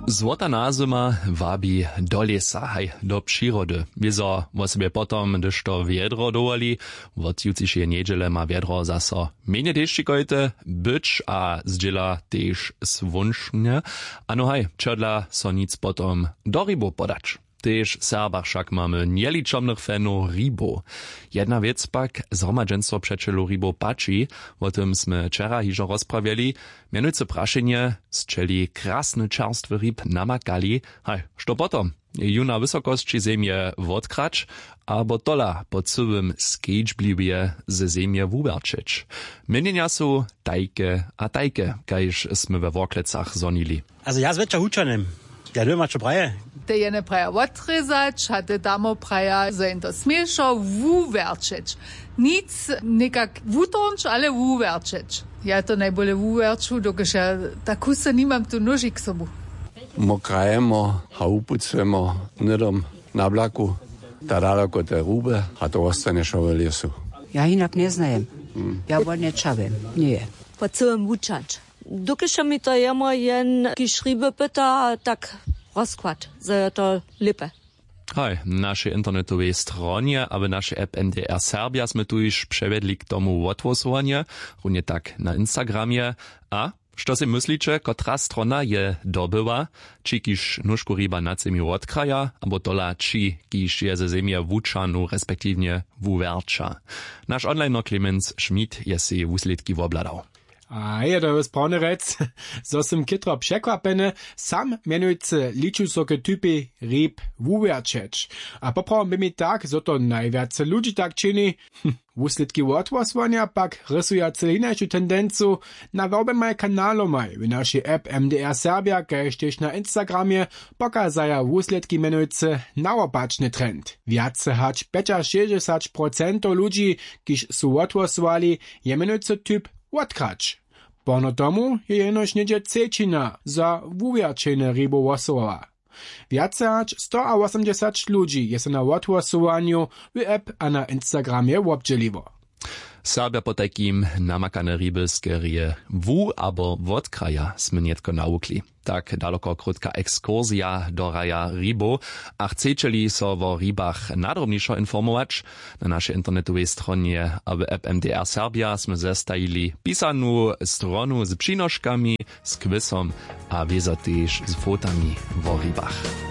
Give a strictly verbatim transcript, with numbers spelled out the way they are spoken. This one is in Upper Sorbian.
Złota nazyma wabi do lěsa, haj, do přirody. Wězo wosebje potom, hdyž to wjedro dowoli. Wot jutřišeje njedźele ma wjedro zaso mjenje dešćikojte być a zdźěla tež słónčnje. Ano haj, čodla so nic potom do hribow podać. Tež w Serbach wšak mamy njeličomnych fanow hribow. Jedna wěc pak zhromadźenstwo přećelow hribow pači. Wo tym smy wčera hižo rozprawjeli. Mjenujcy prašenje, sćeli krasny čerstwy hrib namakali? Haj, što potom? Juna wysokosći zemje wotkrać abo tola po cyłym skedźbliwje ze zemje wuwjerćeć? Měnjenja su tajke a tajke, kaž smy we worklecach zhonili. Also ja zwjetša hučanym. Ja doma čo praje? Te jene praja wotrězać a te tamo praja zo jen to směšo wuwjerćeć. Nic někak wutornć ale wuwjerćeć. Ja to najbóle wuwjerću dokelž ja tak husto nimam tu nóži k sobu. Mokrajemo a wupucujemo hnydom na blaku, ta daloko te ruby, a to wostanje wšo w lěsu. Ja hinak njeznajem. Ja wone čawem. Njeje. Po cyłym wučać. Dokelž mi to jemo jen kiž hriby pyta tak rozkład zo jo to lěpe. Haj, na našej internetowej stronje a w našej app mdr serbja smy tuž přewjedli k tomu wothłosowanje, runje tak na instagramje. A što sej mysliće, kotra strona je dobyła? Ći kiž nóžku hriba nad zemju wotkraja abo tola ći kiž je ze zemje wućahnył respektiwnje wuwjerća? Naš onliner clemens schmidt je sej wuslědki wobhladał. A je to sprawnje rjec, zo sym chětro překwapjeny. Sam mjenujcy liču so k typej hrib wuwjerćeć. A poprawom by mi tak zo to najwjace ludźi tak čini. Wuslědki wothłosowanja pak rysuja cyle hinašu tendencu. Na woběmaj kanalomaj w našej app mdr serbja kaž tež na instagramje pokazaja wuslědki mjenujcy nawopačny trend. Wjace hač pjećašěsćdźesać procentow ludźi, kiž su wothłosowali, je mjenujcy typ wotkrać. Porno tomu je jenož něhdźe třećina za wuwjerćenje hribow hłosowała. Wjace hač stoawosomdźesać ludźi je so na wothłosowanju w app a na instagramje wobdźěliło. Serbja potajkim namakane hriby skerje wu abo wotkraja smy nětko nawukli. Tak daloko krótka ekskursija do raja hribow. A chcećeli so wo hribach nadrobnišo informować, na našej internetowej stronje a w app mdr serbja smy zestajili pisanu stronu z přinoškami, z kwisom a wězo tež z fotami wo hribach.